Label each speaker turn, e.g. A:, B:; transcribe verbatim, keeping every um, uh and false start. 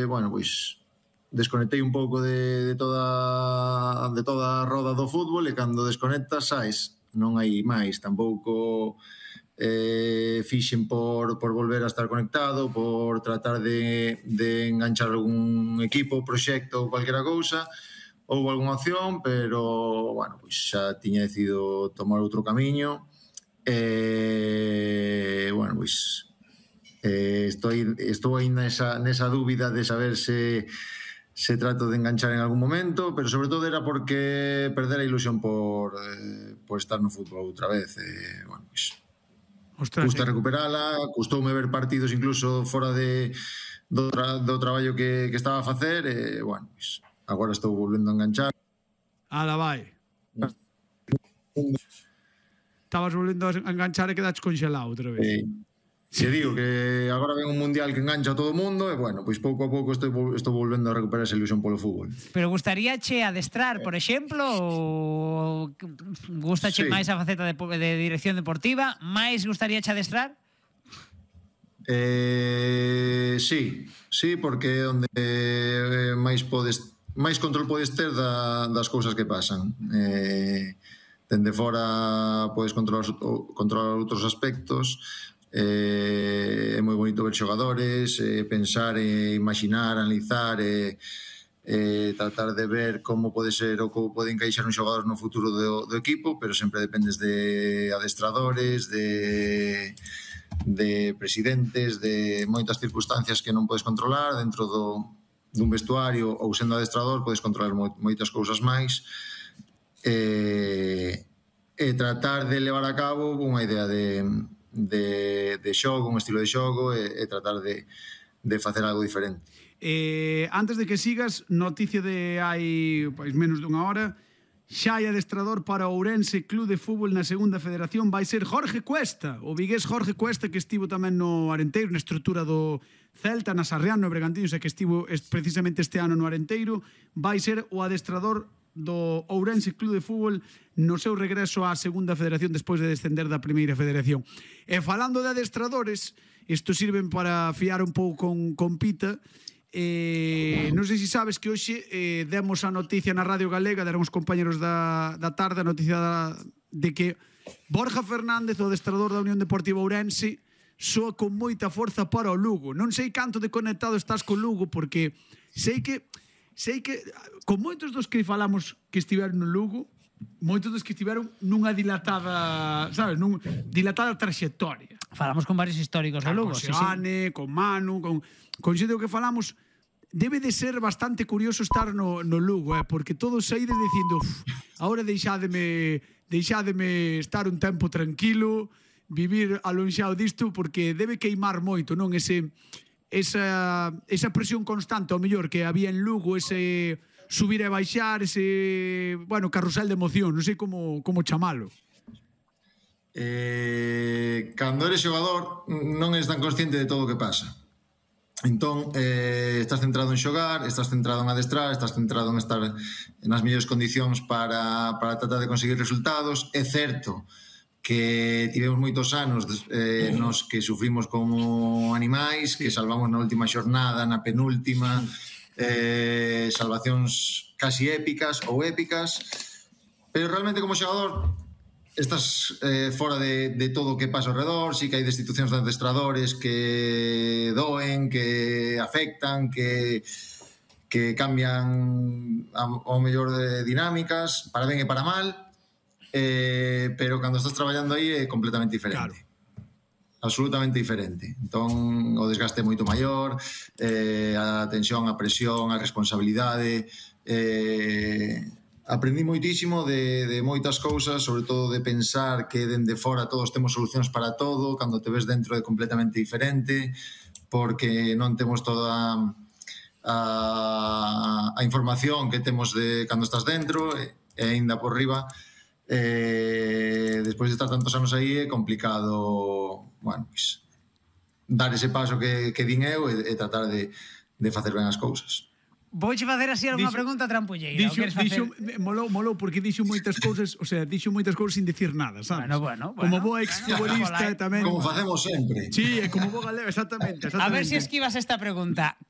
A: bueno, pois desconectei un pouco de, de toda de toda a roda do fútbol, e cando desconectas sais, non hai máis, tampouco eh, fixen por, por volver a estar conectado, por tratar de, de enganchar algún equipo, proxecto ou cualquiera cousa. Houve algunha opción, pero bueno, pois xa tiña decidido tomar outro camiño, e bueno, pois eh, estou, estou aí nesa, nesa dúbida de saber se se trato de enganchar en algún momento, pero sobre todo era porque perder a ilusión por, eh, por estar no fútbol outra vez. Eh, bueno, pois,
B: Ostras,
A: custa
B: eh.
A: recuperala, custoume ver partidos incluso fora de, do, tra, do traballo que, que estaba a facer, e bueno, pois, agora estou volvendo a enganchar.
B: Ala, vai. Estabas volvendo a enganchar e quedaches congelado outra vez.
A: Eh, Se digo que agora ven un mundial que engancha a todo o mundo, e bueno, pois pouco a pouco estou, estou volvendo a recuperar esa ilusión polo fútbol.
C: Pero gustaría che adestrar, por exemplo, ou gusta che
A: Sí.
C: máis a faceta de, de dirección deportiva, máis gustaría che adestrar?
A: Eh, sí, sí, porque é onde eh, máis podes máis control podes ter da, das cousas que pasan. Eh, dende fora podes controlar, controlar outros aspectos. Eh, é moi bonito ver xogadores, eh, pensar e imaginar, analizar e eh, tratar de ver como pode ser ou como pode encaixar un xogador no futuro do, do equipo, pero sempre dependes de adestradores, de, de presidentes, de moitas circunstancias que non podes controlar dentro do, dun vestuario, ou sendo adestrador podes controlar moitas cousas máis, e, e tratar de levar a cabo unha idea de De, de xogo, un estilo de xogo, e, e tratar de, de facer algo diferente.
B: Eh, antes de que sigas, noticia de hai pois, menos dunha hora, xa hai adestrador para o Ourense Club de Fútbol na segunda federación, vai ser Jorge Cuesta, o vigués Jorge Cuesta, que estivo tamén no Arenteiro, na estrutura do Celta, na Sarrián, no Bregantiños, e que estivo precisamente este ano no Arenteiro, vai ser o adestrador do Ourense Club de Fútbol no seu regreso á segunda federación despois de descender da primeira federación. E falando de adestradores, isto sirven para fiar un pouco con, con Pita. Eh, non sei se sabes que hoxe eh, demos a noticia na Radio Galega, deron os compañeros da, da tarde a noticia da, de que Borja Fernández, o adestrador da Unión Deportiva Ourense, soa con moita forza para o Lugo. Non sei canto de conectado estás con Lugo, porque sei que sei que con moitos dos que falamos que estiveron no Lugo, moitos dos que estiveron nunha dilatada, sabes, nunha dilatada traxectoria.
C: Falamos con varios históricos do Lugo,
B: con
C: sí,
B: Seane,
C: sí.
B: con Manu, con con xente que falamos. Debe de ser bastante curioso estar no, no Lugo, eh, porque todos saídes dicindo, ahora deixádeme deixádeme estar un tempo tranquilo, vivir alonxado disto, porque debe queimar moito, non? Ese esa, esa presión constante, ao mellor, que había en Lugo, ese subir e baixar, ese, bueno, carrusel de emoción, non sei como, como chamalo.
A: Eh, cando eres xogador non eres tan consciente de todo o que pasa. Entón, eh, estás centrado en xogar, estás centrado en adestrar, estás centrado en estar nas mellores condicións para, para tratar de conseguir resultados. É certo que tivemos moitos anos eh, nos que sufrimos como animais, que salvamos na última xornada, na penúltima, eh, salvacións casi épicas ou épicas, pero realmente como xogador estás eh, fora de, de todo o que pasa ao redor. Sí que hai destitucións de adestradores que doen, que afectan, que que cambian ao mellor de dinámicas, para ben e para mal. Eh, pero cando estás traballando aí é completamente diferente, claro. Absolutamente diferente. Entón o desgaste é moito maior, eh, a tensión, a presión, a responsabilidade. eh, aprendí moitísimo de, de moitas cousas, sobre todo de pensar que dende fora todos temos solucións para todo, cando te ves dentro é completamente diferente, porque non temos toda a, a información que temos de cando estás dentro, e, e ainda por riba. Eh, despois de estar tantos anos aí é complicado, bueno, pues, dar ese paso que, que din eu e, e tratar de, de facer ben as cousas.
C: Vouche facer así algunha pregunta trampolleira.
B: Dixo, dixo, molou, molou porque dixo moitas cousas, o sea, dixo moitas cousas sin decir nada, sabes?
C: Bueno, bueno, bueno.
B: Como boa exfutbolista
C: bueno,
B: tamén.
A: Como facemos sempre.
B: Sí, como boa galego, exactamente, exactamente.
C: A ver se si esquivas esta pregunta.